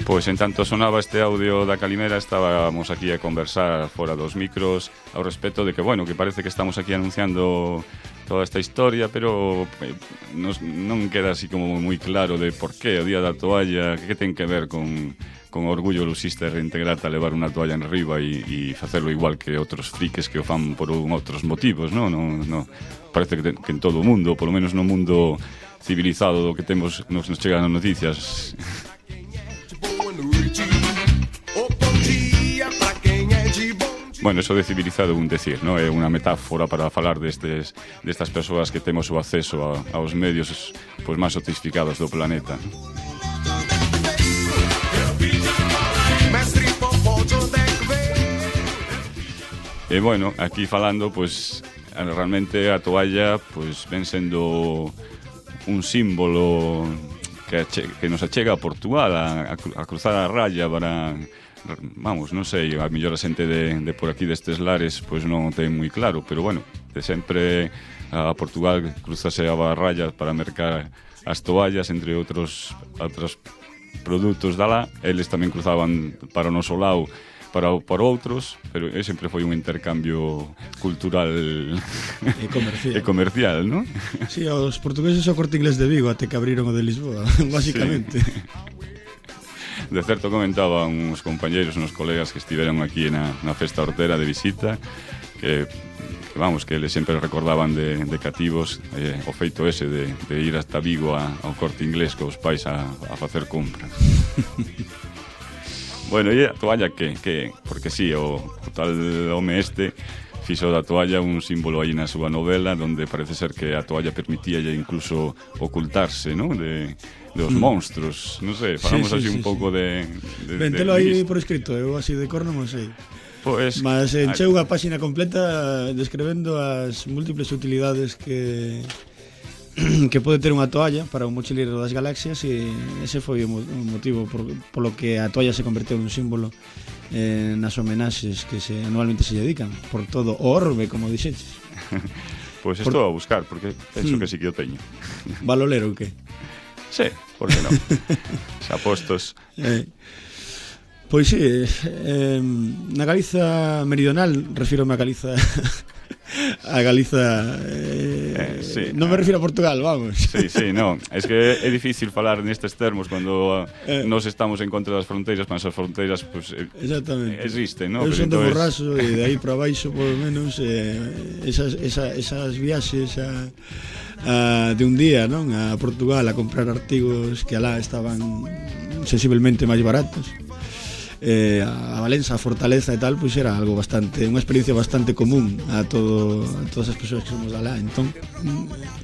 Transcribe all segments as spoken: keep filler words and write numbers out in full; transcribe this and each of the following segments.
Pois en tanto sonaba este audio da Calimera, estábamos aquí a conversar fora dos micros ao respecto de que, bueno, que parece que estamos aquí anunciando toda esta historia, pero eh, nos, non queda así como moi claro de por qué o Día da Toalla, que ten que ver con, con orgullo lusista e reintegrarte a levar unha toalla en riba e, e facerlo igual que outros friques que o fan por un outros motivos, non? No, no, parece que, ten, que en todo o mundo, polo menos no mundo civilizado do que temos, nos, nos chegan as noticias. Bueno, eso de civilizado é un decir, ¿no? É unha metáfora para falar destes, destas persoas que temos o acceso a, aos medios pois, máis sofisticados do planeta. E bueno, aquí falando, pois, realmente a toalla pois, ven sendo un símbolo que, ache, que nos achega a Portugal, a, a cruzar a raya para... Vamos, non sei, a mellor a xente de, de por aquí destes lares pois non o ten moi claro, pero bueno, de sempre a Portugal cruzase a raya para mercar as toallas, entre outros outros produtos da lá. Eles tamén cruzaban para o noso lado para, para outros, pero sempre foi un intercambio cultural e comercial, e comercial, non? Si, sí, os portugueses o Corte Inglés de Vigo até que abriron o de Lisboa, basicamente. Sí. De certo comentaban uns compañeiros, uns colegas que estiveron aquí na, na festa hortera de visita que, que vamos, que eles sempre recordaban de, de cativos eh, o feito ese de, de ir hasta Vigo a, ao Corte Inglés cos pais a, a facer compras. Bueno, e a toalla que? que porque si, sí, o, o tal home este fixo da toalla un símbolo aí na súa novela donde parece ser que a toalla permitía incluso ocultarse, ¿no? De, dos mm. monstruos, non sei, falamos sí, sí, así un sí, pouco sí. de, de... Ventelo aí por escrito, eu así de cor non o sei. Pues, mas encheu unha páxina completa describendo as múltiples utilidades que que pode ter unha toalla para un mochileiro das galaxias, e ese foi o motivo por, polo que a toalla se converteu nun símbolo eh, nas homenaxes que se anualmente se dedican por todo o orbe, como dixeches. Pois pues estou por... a buscar, porque penso mm. que sí que o teño. Valolero ou que? Sí, por que non? Xa postos. Eh, pois sí, eh, na Galiza meridional, refírome a Galiza a Galiza eh, eh, sí, non me refiro a Portugal, vamos. Sí, sí, non, es que é difícil falar nestes termos cando eh, nos estamos en contra das fronteiras, mas as fronteiras pues, exactamente. Existen, ¿no? Eu son de Borraso e de aí para baixo, por lo menos eh, esas, esa, esas viaxes a, a, de un día, non, a Portugal a comprar artigos que alá estaban sensiblemente máis baratos, eh, a Valença, a Fortaleza e tal, pois era algo bastante, unha experiencia bastante común a todo a todas as persoas que somos alá. Entón,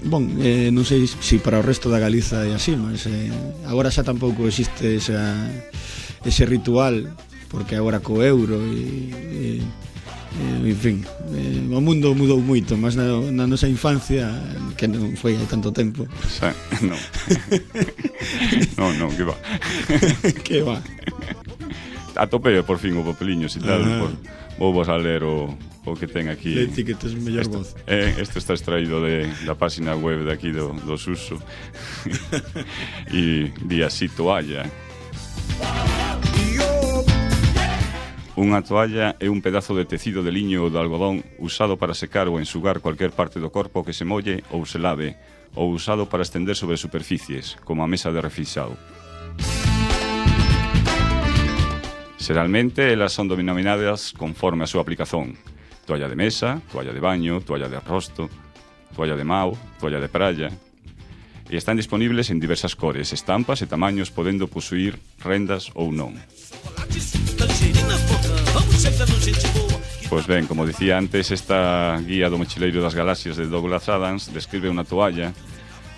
bon, eh, non sei se si para o resto da Galiza é así, mas eh, agora xa tampouco existe esa, ese ritual, porque agora co euro e, e Eh, en fin, eh, o mundo mudou moito, mas na, na nosa infancia, que non foi hai tanto tempo. Xa, non. non, non, que va. Que va. Atopei por fin o papeliño, e tal, por, vou vos a ler o, o que ten aquí. Leti que tes mellor este, voz. Eh, este está extraído de, da página web de aquí do, do Suso. E di así: toalla. Unha toalla é un pedazo de tecido de liño ou de algodón usado para secar ou ensugar cualquier parte do corpo que se molle ou se lave, ou usado para estender sobre superficies, como a mesa de refrixado. Xeralmente, elas son denominadas conforme a súa aplicación: toalla de mesa, toalla de baño, toalla de arrosto, toalla de mau, toalla de praia, e están disponibles en diversas cores, estampas e tamaños, podendo posuir rendas ou non. Pois ben, como dicía antes, esta guía do mochileiro das galaxias de Douglas Adams describe unha toalla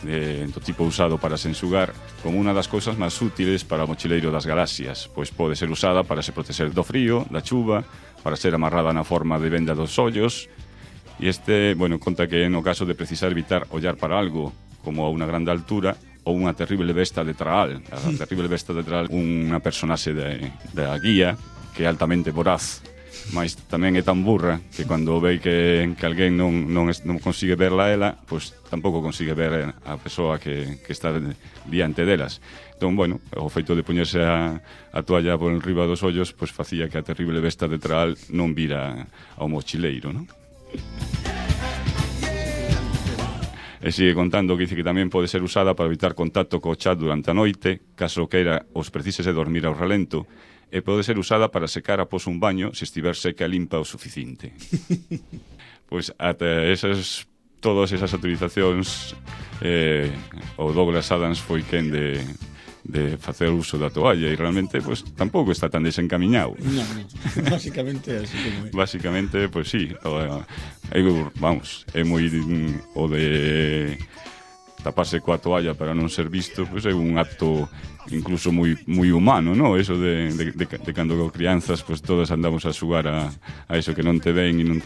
de, do tipo usado para se ensugar como unha das cousas máis útiles para o mochileiro das galaxias, pois pode ser usada para se protexer do frío, da chuva, para ser amarrada na forma de venda dos ollos. E este, bueno, conta que no caso de precisar evitar ollar para algo como a unha grande altura ou unha terrible besta de Traal. A terrible besta de Traal, unha personaxe de, da guía que é altamente voraz mas tamén é tan burra que cando ve que, que alguén non, non, es, non consigue verla a ela, pois tampouco consigue ver a persoa que, que está diante delas. Entón, bueno, o feito de poñerse a, a toalla por enriba dos ollos, pois facía que a terrible besta de Traal non vira ao mochileiro, non? E sigue contando que dice que tamén pode ser usada para evitar contacto co chat durante a noite, caso queira os precises de dormir ao relento, e pode ser usada para secar após un baño se estiver seca e limpa o suficiente. Pois ata esas, todas esas utilizacións eh, o Douglas Adams foi quen de, de facer uso da toalla e realmente pues, tampouco está tan desencamiñado. No, no, básicamente así como é. Básicamente, pois pues, sí, o, eu, vamos, é moi o de taparse coa toalla para non ser visto, pois pues, é un acto incluso moi moi humano, ¿no? Eso de, de, de, de cando crianzas, pues todos andamos a xugar a, a eso que non te ven e, non,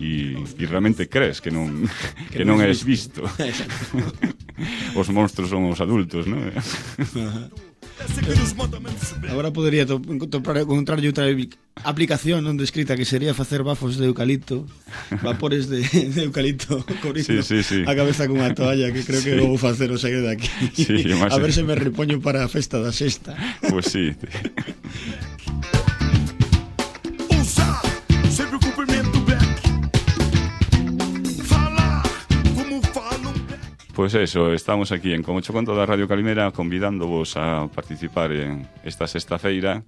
e, e realmente crees que non que, que non és visto. Os monstruos son os adultos, ¿no? Agora podería to, to, encontrarlle outra aplicación onde escrita que sería facer bafos de eucalipto, vapores de, de eucalipto cobrindo sí, sí, sí. a cabeza con unha toalla, que creo que sí. Vou facer o sair de aquí, sí, a ver se me repoño para a festa da sexta. Pues sí. Pois pues eso, estamos aquí en Como Cho Conto da Radio Calimera convidándovos a participar en esta sexta feira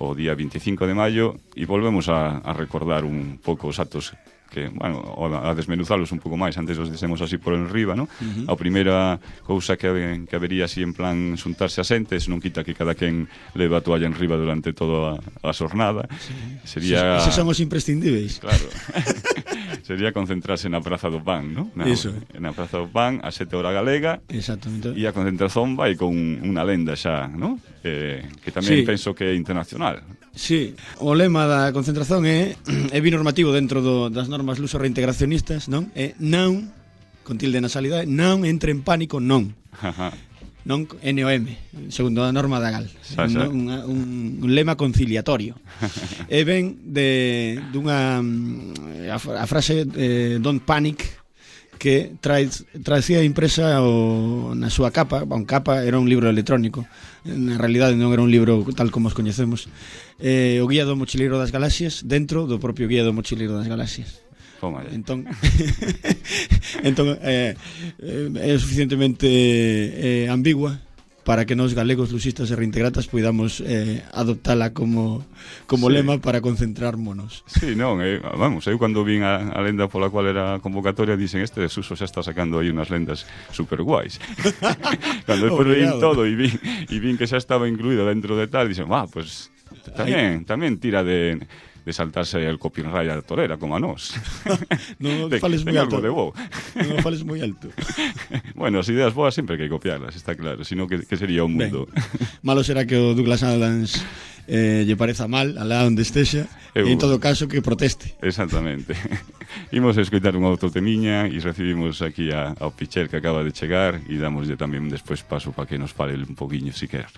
o día vinte e cinco de maio e volvemos a, a recordar un pouco os actos que, bueno, a desmenuzalos un pouco máis, antes os dixemos así por enriba, ¿no? Uh -huh. A primeira cousa que, que habería así en plan xuntarse a xentes, non quita que cada quen leva a toalla enriba durante toda a, a xornada. Sí. Sería... Eses son os imprescindíveis. Claro. Sería concentrarse na Praza do Pan, ¿no? Na, Eso. Na Praza do Pan, a sete hora galega. Exactamente. E a concentración vai con unha lenda xa, ¿no? Eh, que tamén sí. Penso que é internacional. Sí, o lema da concentración é é binormativo dentro do, das normas luso reintegracionistas, non? É non, con tilde nasalidade, non entre en pánico, non. Non N O M, segundo a norma da Gal. Xa, xa. Un, un, un lema conciliatorio. E ven de dunha a, a frase eh, don't panic, que trae, traecía impresa o, na súa capa, un capa era un libro electrónico, na realidade non era un libro tal como os coñecemos, eh, o Guía do Mochileiro das Galaxias dentro do propio Guía do Mochileiro das Galaxias. Entón, entón eh, é suficientemente eh, ambigua para que nos galegos luxistas e reintegratas poidamos eh, adoptala como como sí. Lema para concentrarmonos. Sí, non, eh, vamos, eu cando vin a, a lenda pola cual era a convocatoria dicen este desuso xa está sacando aí unhas lendas super guais. Cando depois vin todo e vin, e vin que xa estaba incluído dentro de tal, dicen, ah, pues tamén, tamén tira de... de saltarse el copyright a torera, como a nós. Non de, fales moi alto. De non fales moi alto. Bueno, as ideas boas sempre hai que copiarlas, está claro, sino que, que sería o mundo. Ben, malo será que o Douglas Adams eh, lle pareza mal, alá onde estexa, e en todo caso que proteste. Exactamente. Imos a escoitar un outro temiña e recibimos aquí a, ao Pichel que acaba de chegar e damoslle tamén despois paso para que nos fale un poquinho, si quer.